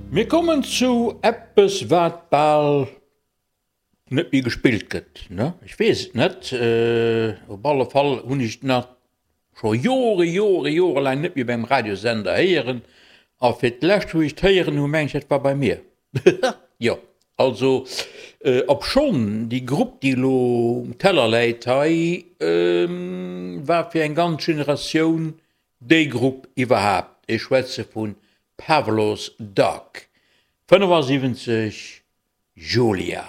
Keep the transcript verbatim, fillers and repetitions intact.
Mir kommen zu eppes wat bal net méi gespillt gëtt, ne? Ech weess et net, op alle Fall hunn ech et nach scho Jore, Jore, Jore laang net méi op engem Radiosender héieren a fir d'lescht wou ech et héieren hu mengen ech dat war bei mir. Jo, also obschonn déi Grupp déi elo um Teller läit hei war fir eng ganz Generatioun déi Grupp iwwerhaapt. Ech schwätze vu Pavlov's Dog, fënnefasiwwenzeg, Julia.